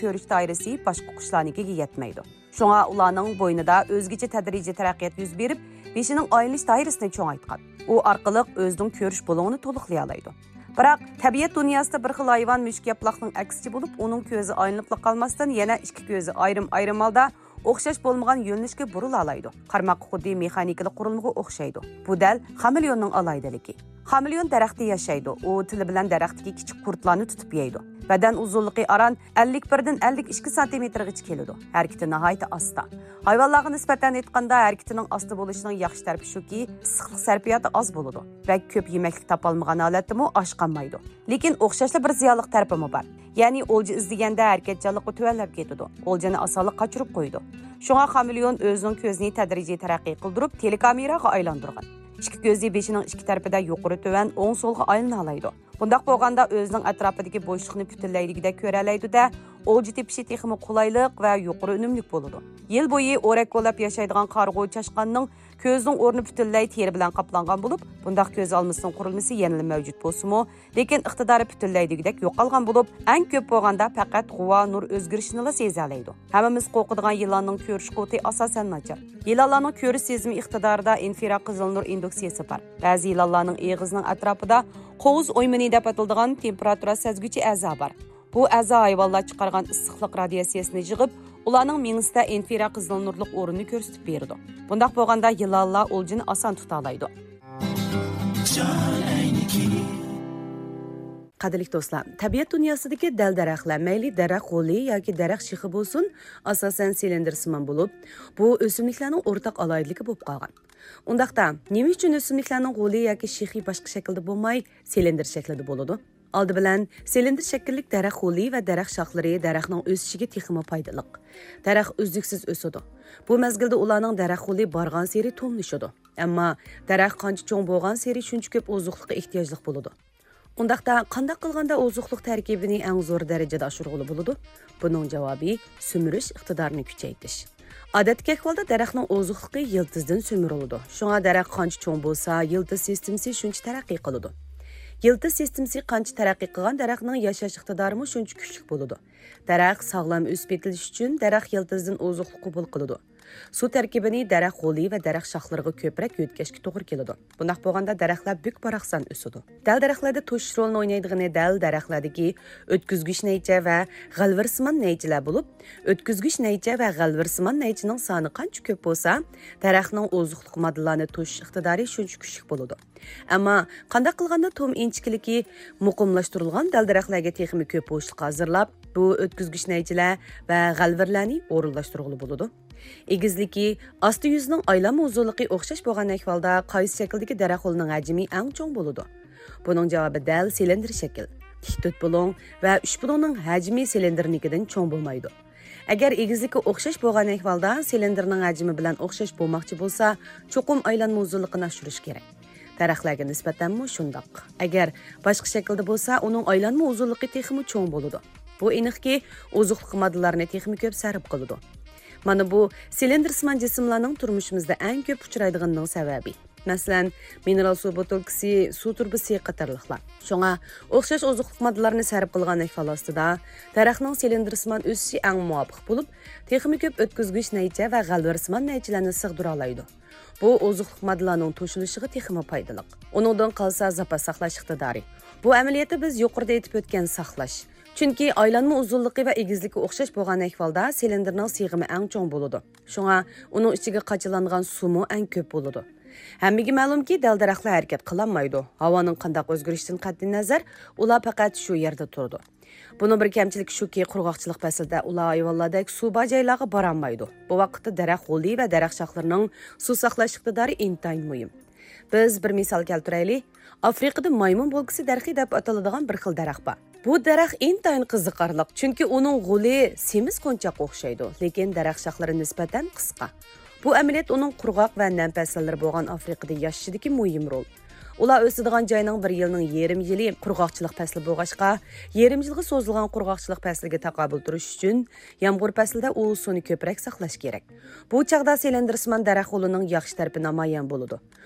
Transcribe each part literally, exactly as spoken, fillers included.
كۆرۈش دائىرىسى باشقا قۇشلارنىڭكىگە يەتمەيدۇ. شۇڭا ئۇلارنىڭ بوينىدا ئۆزگىچە تەدرىجىي تەرەققىيات يۈز بېرىپ، بېشىنىڭ ئايلىنىش دائىرىسىنى چوڭايتقان. ئۇ ئارقىلىق ئۆزىنىڭ كۆرۈش بۇلۇڭىنى تولۇقلىيالايدۇ. بىراق، تەبىئەت دۇنياسىدا بىر خىل ھايۋان مۈشۈك ياپىلاقنىڭ ئەكسىچە بولۇپ، ئۇنىڭ كۆزى ئايلىنىپلا قالماستىن، يەنە ئىككى كۆزى ئايرىم-ئايرىم ھالدا ئوخشاش بولمىغان يۆنىلىشكە بۇرۇلالايدۇ. قارىماققا خۇددى مېخانىكىلىق قۇرۇلمىغا ئوخشايدۇ. بۇ دەل خامېليوننىڭ ئالاھىدىلىكى. خامېليون دەرەختە ياشايدۇ. ئۇ تىلى بىلەن دەرەختىكى كىچىك قۇرتلارنى تۇتۇپ يەيدۇ. بەدەن ئۇزۇنلۇقى ئاران ئەللىك بىردىن ئەللىك ئىككى سانتىمېتىرغىچە كېلىدۇ. ھەرىكىتى ناھايىتى ئاستا. ھايۋانلارغا نىسبەتەن ئېيتقاندا، ھەرىكىتىنىڭ ئاستا بولۇشىنىڭ ياخشى تەرىپى شۇكى، ئىسسىقلىق سەرپىياتى ئاز بولىدۇ. بەك كۆپ يېمەكلىك تاپالمىغان ھالەتتىمۇ ئاچ قالمايدۇ. لېكىن ئوخشاشلا بىر زىيانلىق تەرىپىمۇ بار. يەنى ئولجا ئىزدىگەندە ھەرىكەتچانلىقى تۆۋەنلەپ كېتىدۇ. ئولجىنى ئاسانلا قاچۇرۇپ قويىدۇ. شۇڭا خامېليون ئۆزىنىڭ كۆزىنى تەدرىجىي تەرەققىي قىلدۇرۇپ، تېلېكامېراغا ئايلاندۇرغان. ئىككى كۆزى بېشىنىڭ ئىككى تەرىپىدە يۇقىرى تۆۋەن، ئوڭ سولغا ئايلىنالايدۇ. بۇنداق بولغاندا ئۆزىنىڭ ئەتراپىدىكى بوشلۇقنى پۈتۈنلەي دېگۈدەك كۆرەلەيدۇ-دە، ئولجا تېپىشى تېخىمۇ قولايلىق ۋە يۇقىرى ئۈنۈملۈك بولىدۇ. يىل بويى ئورەك كولاپ ياشايدىغان قارىغۇ چاشقاننىڭ كۆزىنىڭ ئورنى پۈتۈنلەي تېرە بىلەن قاپلانغان بولۇپ، بۇنداق كۆز ئالمىسىنىڭ قۇرۇلمىسى يەنىلا مەۋجۇت بولسىمۇ، لېكىن ئىقتىدارى پۈتۈنلەي دېگۈدەك يوقالغان بولۇپ، ئەڭ كۆپ بولغاندا پەقەت غۇۋا نۇر ئۆزگىرىشىنىلا سېزەلەيدۇ. ھەممىمىز قورقىدىغان يىلاننىڭ كۆرۈش قۇۋۋىتى ئاساسەن ناچار. يىلانلارنىڭ كۆرۈش سېزىمى ئىقتىدارىدا ئىنفرا قىزىل نۇر ئىندۇكسىيىسى بار. بەزى يىلانلارنىڭ ئېغىزىنىڭ ئەتراپىدا قوۋۇز ئويمىنى دەپ ئاتىلىدىغان تېمپېراتۇرا سەزگۈچى ئەزا بار. بۇ ئەزا ھايۋانلار چىقارغان ئىسسىقلىق رادىياتسىيەسىنى يىغىپ، ئۇلارنىڭ مېڭىسىدە ئىنفرا قىزىل نۇرلۇق ئورۇننى كۆرسىتىپ بېرىدۇ. بۇنداق بولغاندا يىلانلار ئولجىنى ئاسان تۇتالايدۇ. قەدىرلىك دوستلار، تەبىئەت دۇنياسىدىكى دەل دەرەخلەر، مەيلى دەرەخ غولى ياكى دەرەخ شېخى بولسۇن، ئاساسەن سىلىندىرسىمان بولۇپ، بۇ ئۆسۈملۈكلەرنىڭ ئورتاق ئالاھىدىلىكى بولۇپ قالغان. ئۇنداقتا، نېمە ئۈچۈن ئۆسۈملۈكلەرنىڭ غولى ياكى شېخى باشقا شەكىلدە بولماي، سىلىندىر شەكلىدە بولىدۇ؟ ئالدى بىلەن، سىلىندىر شەكىللىك دەرەخ غولى ۋە دەرەخ شاخلىرى دەرەخنىڭ ئۆسۈشىگە تېخىمۇ پايدىلىق. دەرەخ ئۈزلۈكسىز ئۆسىدۇ. بۇ مەزگىلدە ئۇلارنىڭ دەرەخ غولى بارغانسېرى توملىشىدۇ. ئەمما دەرەخ قانچە چوڭ بولغانسېرى شۇنچە كۆپ ئوزۇقلۇققا ئېھتىياجلىق بولىدۇ. ئۇنداقتا، قانداق قىلغاندا ئوزۇقلۇق تەركىبىنى ئەڭ زور دەرىجىدە ئاشۇرغىلى بولىدۇ؟ بۇنىڭ جاۋابى سۈمۈرۈش ئىقتىدارىنى كۈچەيتىش. ئادەتتىكى ئەھۋالدا دەرەخنىڭ ئوزۇقلۇقى يىلتىزدىن سۈمۈرۈلىدۇ. شۇڭا دەرەخ قانچە چوڭ بولسا، يىلتىز سىستېمىسى شۇنچە تەرەققىي قىلىدۇ. يىلتىز سىستېمىسى قانچە تەرەققىي قىلغان، دەرەخنىڭ ياشاش ئىقتىدارىمۇ شۇنچە كۈچلۈك بولىدۇ. دەرەخ ساغلام ئۆسۈپ يېتىلىش ئۈچۈن دەرەخ يىلتىزدىن ئوزۇقلۇق قوبۇل قىلىدۇ. سۇ تەركىبىنى دەرەخ غولى ۋە دەرەخ شاخلىرىغا كۆپرەك يۆتكەشكە توغرا كېلىدۇ. بۇنداق بولغاندا دەرەخلەر بۈك-باراقسان ئۆسىدۇ. دەل دەرەخلەردە توشۇش رولىنى ئوينايدىغىنى دەل دەرەخلەردىكى ئۆتكۈزگۈچ نەيچە ۋە غەلۋىرسىمان نەيچىلەر بولۇپ، ئۆتكۈزگۈچ نەيچە ۋە غەلۋىرسىمان نەيچىنىڭ سانى قانچە كۆپ بولسا، دەرەخنىڭ ئوزۇقلۇق ماددىلارنى توشۇش ئىقتىدارى شۇنچە كۈچلۈك بولىدۇ. ئەمما قانداق قىلغاندا توم ئىنچىكىلىكى مۇقىملاشتۇرۇلغان دەل دەرەخلەرگە تېخىمۇ كۆپ بوشلۇق ھازىرلاپ، بۇ ئۆتكۈزگۈچ نەيچىلەر ۋە غەلۋىرلەرنى ئورۇنلاشتۇرغىلى بولىدۇ؟ ئېگىزلىكى، ئاستى يۈزىنىڭ ئايلانما ئۇزۇنلۇقى ئوخشاش بولغان ئەھۋالدا قايسى شەكىلدىكى دەرەخ غولىنىڭ ھەجمى ئەڭ چوڭ بولىدۇ؟ بۇنىڭ جاۋابى دەل سىلىندىر شەكىل. تىك تۆت بۇلۇڭ ۋە ئۈچ بۇلۇڭنىڭ ھەجمى سىلىندىرنىڭكىدىن چوڭ بولمايدۇ. ئەگەر ئېگىزلىكى ئوخشاش بولغان ئەھۋالدا سىلىندىرنىڭ ھەجمى بىلەن ئوخشاش بولماقچى بولسا، چوقۇم ئايلانما ئۇزۇنلۇقىنى ئاشۇرۇش كېرەك. دەرەخلەرگە نىسبەتەنمۇ شۇنداق. ئەگەر باشقا شەكىلدە بولسا، ئۇنىڭ ئايلانما ئۇزۇنلۇقى تېخىمۇ چوڭ بولىدۇ. بۇ ئېنىقكى، ئوزۇقلۇق ماددىلارنى تېخىمۇ كۆپ سەرپ قىلىدۇ. مانا بۇ سىلىندىرسىمان جىسىملارنىڭ تۇرمۇشىمىزدا ئەڭ كۆپ ئۇچرايدىغىنىنىڭ سەۋەبى. مەسىلەن، مىنېرال سۇ بوتۇلكىسى، سۇ تۇرۇبىسى قاتارلىقلار. شۇڭا ئوخشاش ئوزۇقلۇق ماددىلارنى سەرپ قىلغان ئەھۋال ئاستىدا، دەرەخنىڭ سىلىندىرسىمان ئۆسۈشى ئەڭ مۇۋاپىق بولۇپ، تېخىمۇ كۆپ ئۆتكۈزگۈچ نەيچە ۋە غەلۋىرسىمان نەيچىلەرنى سىغدۇرالايدۇ. بۇ ئوزۇقلۇق ماددىلارنىڭ توشۇلۇشىغا تېخىمۇ پايدىلىق. ئۇنىڭدىن قالسا زاپاس ساقلاش ئىقتىدارى. بۇ ئەمەلىيەتتە بىز يۇقىرىدا ئېيتىپ ئۆتكەن ساقلاش. چۈنكى ئايلانما ئۇزۇنلۇقى ۋە ئېگىزلىكى ئوخشاش بولغان ئەھۋالدا سىلىندىرنىڭ سىغىمى ئەڭ چوڭ بولىدۇ. شۇڭا ئۇنىڭ ئىچىگە قاچىلانغان سۇمۇ ئەڭ كۆپ بولىدۇ. ھەممىگە مەلۇمكى، دەل دەرەخلەر ھەرىكەت قىلالمايدۇ. ھاۋانىڭ قانداق ئۆزگىرىشىدىن قەتئىينەزەر، ئۇلار پەقەت شۇ يەردە تۇرىدۇ. بۇنىڭ بىر كەمچىلىكى شۇكى، قۇرغاقچىلىق پەسلىدە ئۇلار ھايۋانلاردەك سۇ بار جايلارغا بارالمايدۇ. بۇ ۋاقىتتا دەرەخ غولى ۋە دەرەخ شاخلىرىنىڭ سۇ ساقلاش ئىقتىدارى ئىنتايىن مۇھىم. بىز بىر مىسال كەلتۈرەيلى. ئافرىقىدا مايمۇن بولكىسى دەرىخى دەپ ئاتىلىدىغان بىر خىل دەرەخ بار. بۇ دەرەخ ئىنتايىن قىزىقارلىق، چۈنكى ئۇنىڭ غولى سېمىز قونچاققا ئوخشايدۇ، لېكىن دەرەخ شاخلىرى نىسبەتەن قىسقا. بۇ ئەمەلىيەت ئۇنىڭ قۇرغاق ۋە نەم پەسىللىرى بولغان ئافرىقىدا ياشىشىدىكى مۇھىم رول. ئۇلار ئۆسىدىغان جاينىڭ بىر يىلنىڭ يېرىم يىلى قۇرغاقچىلىق پەسلى بولغاچقا، يېرىم يىلغا سوزۇلغان قۇرغاقچىلىق پەسلىگە تاقابىل تۇرۇش ئۈچۈن يامغۇر پەسلىدە ئۇ سۇنى كۆپرەك ساقلاش كېرەك. بۇ چاغدا سىلىندىرسىمان دەرەخ غولىنىڭ ياخشى تەرىپى نامايان بولىدۇ.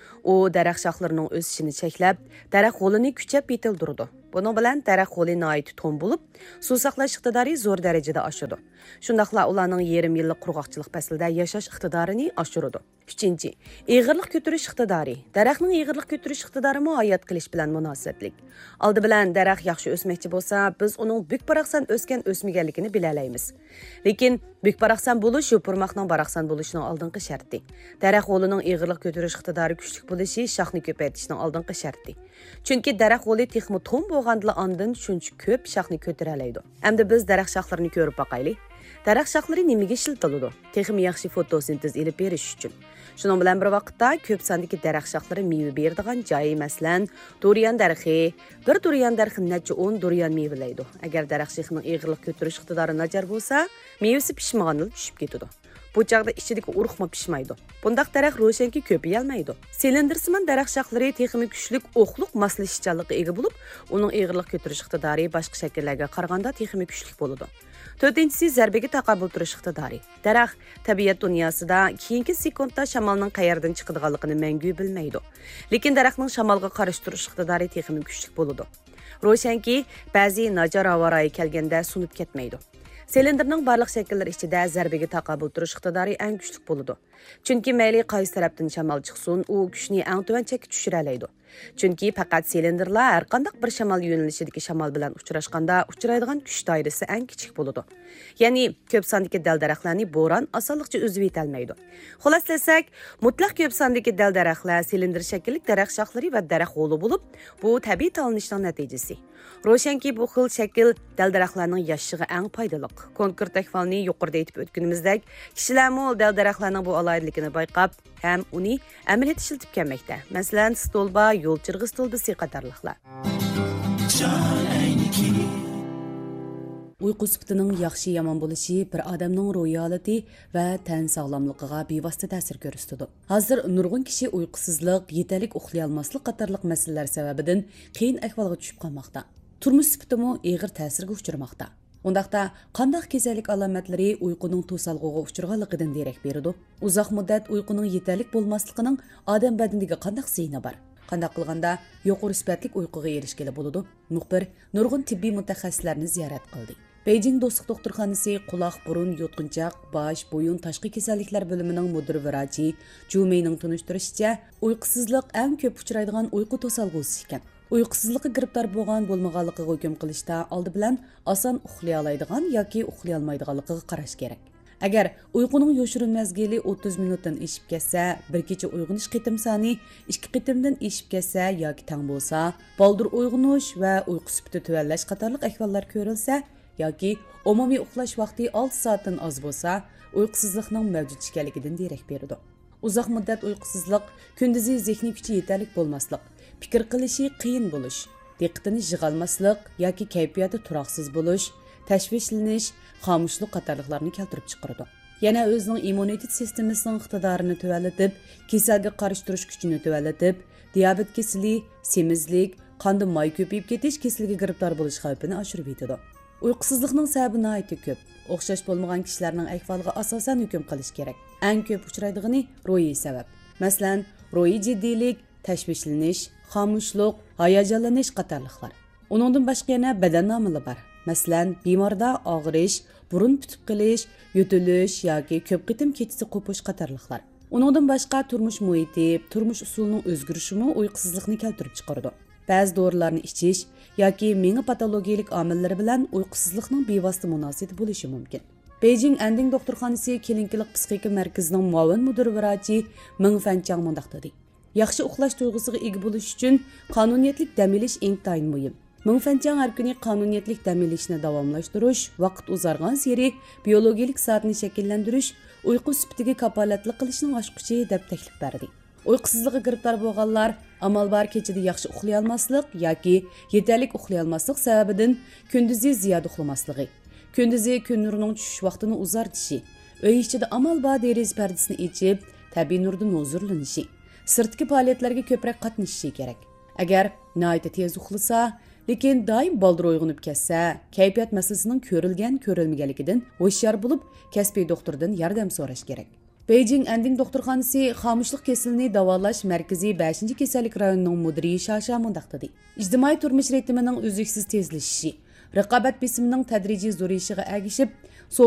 ئۇ دەرەخ شاخلىرىنىڭ ئۆسۈشىنى چەكلەپ، دەرەخ غولىنى كۈچەپ يېتىلدۈرىدۇ. بۇنىڭ بىلەن دەرەخ ھولى ناھايىتى توم بولۇپ، سۇ ساقلاش ئىقتىدارى زور دەرىجىدە ئاشىدۇ. شۇنداقلا ئۇلارنىڭ يېرىم يىللىق قۇرغاقچىلىق پەسلىدە ياشاش ئىقتىدارىنى ئاشۇرىدۇ. ئۈچىنچى، ئېغىرلىق كۆتۈرۈش ئىقتىدارى. دەرەخنىڭ ئېغىرلىق كۆتۈرۈش ئىقتىدارىمۇ ھايات قېلىش بىلەن مۇناسىۋەتلىك. ئالدى بىلەن دەرەخ ياخشى ئۆسمەكچى بولسا، بىز ئۇنىڭ بۈك-باراقسان ئۆسكەن-ئۆسمىگەنلىكىنى بىلەلەيمىز. لېكىن بۈك-باراقسان بولۇش يوپۇرماقنىڭ باراقسان بولۇشىنىڭ ئالدىنقى شەرتى. دەرەخ ھولىنىڭ ئېغىرلىق كۆتۈرۈش ئىقتىدارى كۈچلۈك بولۇشى شاخنى كۆپەيتىشنىڭ ئالدىنقى شەرتى. چۈنكى دەرەخ ھولى تېخىمۇ توم بولغاندىلا ئاندىن شۇنچە كۆپ شاخنى كۆتۈرەلەيدۇ. ئەمدى بىز دەرەخ شاخلىرىنى كۆرۈپ باقايلى. دەرەخ شاخلىرى نېمىگە ئىشلىتىلىدۇ؟ تېخىمۇ ياخشى فوتوسىنتېز ئېلىپ بېرىش ئۈچۈن. شۇنىڭ بىلەن بىر ۋاقىتتا، كۆپ ساندىكى دەرەخ شاخلىرى مېۋە بېرىدىغان جاي، مەسىلەن، دۇريان دەرىخى. بىر دۇريان دەرىخى نەچچە ئون دۇريان مېۋىلەيدۇ. ئەگەر دەرەخ شېخىنىڭ ئېغىرلىق كۆتۈرۈش ئىقتىدارى ناچار بولسا، مېۋىسى پىشمىغاندىلا چۈشۈپ كېتىدۇ. بۇ چاغدا ئىچىدىكى ئۇرۇقمۇ پىشمايدۇ. بۇنداق دەرەخ روشەنكى كۆپىيەلمەيدۇ. سىلىندىرسىمان دەرەخ شاخلىرى تېخىمۇ كۈچلۈك ئوقلۇق ماسلىشىشچانلىققا ئىگە بولۇپ، ئۇنىڭ ئېغىرلىق كۆتۈرۈش ئىقتىدارى باشقا شەكىللەرگە قارىغاندا تېخىمۇ كۈچلۈك بولىدۇ. تۆتىنچىسى، زەربىگە تاقابىل تۇرۇش ئىقتىدارى. دەرەخ تەبىئەت دۇنياسىدا كېيىنكى سېكۇنتتا شامالنىڭ قەيەردىن چىقىدىغانلىقىنى مەڭگۈ بىلمەيدۇ. لېكىن دەرەخنىڭ شامالغا قارشى تۇرۇش ئىقتىدارى تېخىمۇ كۈچلۈك بولىدۇ. روشەنكى، بەزى ناچار ھاۋا رايى كەلگەندە سۇنۇپ كەتمەيدۇ. سىلىندىرنىڭ بارلىق شەكىللىرى ئىچىدە زەربىگە تاقابىل تۇرۇش ئىقتىدارى ئەڭ كۈچلۈك بولىدۇ. چۈنكى مەيلى قايسى تەرەپتىن شامال چىقسۇن، ئۇ كۈچنى ئەڭ تۆۋەن چەككە چۈشۈرەلەيدۇ. چۈنكى پەقەت سىلىندىرلا ھەرقانداق بىر شامال يۆنىلىشىدىكى شامال بىلەن ئۇچراشقاندا ئۇچرايدىغان كۈچ دائىرىسى ئەڭ كىچىك بولىدۇ. يەنى، كۆپ ساندىكى دەل دەرەخلەرنى بوران ئاسانلىقچە ئۈزۈۋېتەلمەيدۇ. خۇلاسىلىسەك، مۇتلەق كۆپ ساندىكى دەل دەرەخلەر سىلىندىر شەكىللىك دەرەخ شاخلىرى ۋە دەرەخ ھولى بولۇپ، بۇ تەبىئىي تاۋلىنىشنىڭ نەتىجىسى. روشەنكى، بۇ خىل شەكىل دەل دەرەخلەرنىڭ ياشىشىغا ئەڭ پايدىلىق. كونكرېت ئەھۋالنى يۇقىرىدا ئېيتىپ ئۆتكىنىمىزدەك، كىشىلەرمۇ دەل دەرەخلەرنىڭ بۇ ئالاھىدىلىكىنى بايقاپ، ھەم ئۇنى ئەمەلىيەتتە ئىشلىتىپ كەلمەكتە. مەسىلەن، ستولبا، يول چىرىغى ستولبىسى قاتارلىقلار. ئۇيقۇ سۈپىتىنىڭ ياخشى-يامان بولۇشى بىر ئادەمنىڭ روھىي ھالىتى ۋە تەن ساغلاملىقىغا بىۋاسىتە تەسىر كۆرسىتىدۇ. ھازىر نۇرغۇن كىشى ئۇيقۇسىزلىق، يېتەرلىك ئۇخلىيالماسلىق قاتارلىق مەسىلىلەر سەۋەبىدىن قىيىن ئەھۋالغا چۈشۈپ قالماقتا. تۇرمۇش سۈپىتىمۇ ئېغىر تەسىرگە ئۇچرىماقتا. ئۇنداقتا، قانداق كېسەللىك ئالامەتلىرى ئۇيقۇنىڭ توسالغۇغا ئۇچرىغانلىقىدىن دېرەك بېرىدۇ؟ ئۇزاق مۇددەت ئۇيقۇنىڭ يېتەرلىك بولماسلىقىنىڭ ئادەم بەدىنىگە قانداق زىيىنى بار؟ قانداق قىلغاندا يۇقىرى سۈپەتلىك ئۇيقۇغا ئېرىشكىلى بولىدۇ؟ مۇخبىر نۇرغۇن تېببىي مۇتەخەسسىسلەرنى زىيارەت قىلدى. بېيجىڭ دوستلۇق دوختۇرخانىسى قۇلاق، بۇرۇن، يۇتقۇنچاق، باش، بويۇن، تاشقى كېسەللىكلەر بۆلۈمىنىڭ مۇدىر ۋراچى جۇ مېينىڭ تونۇشتۇرۇشىچە، ئۇيقۇسىزلىق ئەڭ كۆپ ئۇچرايدىغان ئۇيقۇ توسالغۇسى ئىكەن. ئۇيقۇسىزلىققا گىرىپتار بولغان بولمىغانلىقىغا ھۆكۈم قىلىشتا ئالدى بىلەن ئاسان ئۇخلىيالايدىغان ياكى ئۇخلىيالمايدىغانلىقىغا قاراش كېرەك. ئەگەر ئۇيقۇنىڭ يوشۇرۇن مەزگىلى ئوتتۇز مىنۇتتىن ئېشىپ كەتسە، بىر كېچە ئويغىنىش قېتىم سانى ئىككى قېتىمدىن ئېشىپ كەتسە ياكى تەڭ بولسا، بالدۇر ئويغىنىش ۋە ئۇيقۇ سۈپىتى تۆۋەنلەش قاتارلىق ئەھۋاللار كۆرۈلسە ياكى ئومۇمىي ئۇخلاش ۋاقتى ئالتە سائەتتىن ئاز بولسا، ئۇيقۇسىزلىقنىڭ مەۋجۇت ئىكەنلىكىدىن دېرەك بېرىدۇ. ئۇزاق مۇددەت ئۇيقۇسىزلىق، كۈندۈزى زېھنىي كۈچى يېتەرلىك بولماسلىق، پىكىر قىلىشى قىيىن بولۇش، دىققىتىنى يىغالماسلىق ياكى كەيپىياتى تۇراقسىز بولۇش، تەشۋىشلىنىش، خامۇشلۇق قاتارلىقلارنى كەلتۈرۈپ چىقىرىدۇ. يەنە ئۆزىنىڭ ئىممۇنىتېت سىستېمىسىنىڭ ئىقتىدارىنى تۆۋەنلىتىپ، كېسەلگە قارشى تۇرۇش كۈچىنى تۆۋەنلىتىپ، دىيابېت كېسىلى، سېمىزلىك، قاندا ماي كۆپىيىپ كېتىش كېسىلىگە گىرىپتار بولۇش خەۋپىنى ئاشۇرۇۋېتىدۇ. ئۇيقۇسىزلىقنىڭ سەۋەبى ناھايىتى كۆپ. ئوخشاش بولمىغان كىشىلەرنىڭ ئەھۋالىغا ئاساسەن ھۆكۈم قىلىش كېرەك. ئەڭ كۆپ ئۇچرايدىغىنى روھىي سەۋەب. مەسىلەن، روھىي جىددىيلىك، تەشۋىشلىنىش، خامۇشلۇق، ھاياجانلىنىش قاتارلىقلار. ئۇنىڭدىن باشقا يەنە بەدەن ئامىلى بار. مەسىلەن، بىماردا ئاغرىش، بۇرۇن پۈتۈپ قېلىش، يۆتىلىش ياكى كۆپ قېتىم كېچىسى قوپۇش قاتارلىقلار. ئۇنىڭدىن باشقا تۇرمۇش مۇھىتى، تۇرمۇش ئۇسۇلىنىڭ ئۆزگىرىشىمۇ ئۇيقۇسىزلىقنى كەلتۈرۈپ چىقىرىدۇ. بەزى دورىلارنى ئىچىش ياكى مېڭە پاتولوگىيىلىك ئامىللىرى بىلەن ئۇيقۇسىزلىقنىڭ بىۋاسىتە مۇناسىۋىتى بولۇشى مۇمكىن. بېيجىڭ ئەندىڭ دوختۇرخانىسى كلىنىكىلىق پسىخىكا مەركىزىنىڭ مۇئاۋىن مۇدىر ۋراچى مېڭ فەنچاڭ مۇنداق دېدى: ياخشى ئۇخلاش تۇيغۇسىغا ئىگە بولۇش ئۈچۈن قانۇنىيەتلىك دەم ئېلىش ئىنتايىن مۇھىم. مېڭ فەنچاڭ ھەر كۈنى قانۇنىيەتلىك دەم ئېلىشنى داۋاملاشتۇرۇش، ۋاقىت ئۇزارغانسېرى بىيولوگىيىلىك سائەتنى شەكىللەندۈرۈش، ئۇيقۇ سۈپىتىگە كاپالەتلىك قىلىشنىڭ ئاچقۇچى، دەپ تەكلىپ بەردى. ئۇيقۇسىزلىققا گىرىپتار بولغانلار، ئامال بار كېچىدە ياخشى ئۇخلىيالماسلىق ياكى يېتەرلىك ئۇخلىيالماسلىق سەۋەبىدىن كۈندۈزى زىيادە ئۇخلىماسلىقى، كۈندۈزى كۈن نۇرىنىڭ چۈشۈش ۋاقتىنى ئۇزارتىشى، ئۆي ئىچىدە ئامال بار دېرىزە پەردىسىنى ئېچىپ، تەبىئىي نۇردىن ھۇزۇرلىنىشى، سىرتقى پائالىيەتلەرگە كۆپرەك قاتنىشىشى كېرەك. ئەگەر ناھايىتى تېز ئۇخلىسا، لېكىن دائىم بالدۇر ئويغىنىپ كەتسە، كەيپىيات مەسىلىسىنىڭ كۆرۈلگەن، كۆرۈلمىگەنلىكىدىن ھوشيار بولۇپ، كەسپىي دوختۇردىن ياردەم سوراش كېرەك. بېيجىڭ ئەندىڭ دوختۇرخانىسى خامۇشلۇق كېسىلىنى داۋالاش مەركىزى بەشىنچى كېسەللىك رايونىنىڭ مۇدىرى شاشا مۇنداق دېدى: ئىجتىمائىي تۇرمۇش رىتىمىنىڭ ئۈزلۈكسىز تېزلىشىشى، رىقابەت بېسىمىنىڭ تەدرىجىي زورىيىشىغا ئەگىشىپ،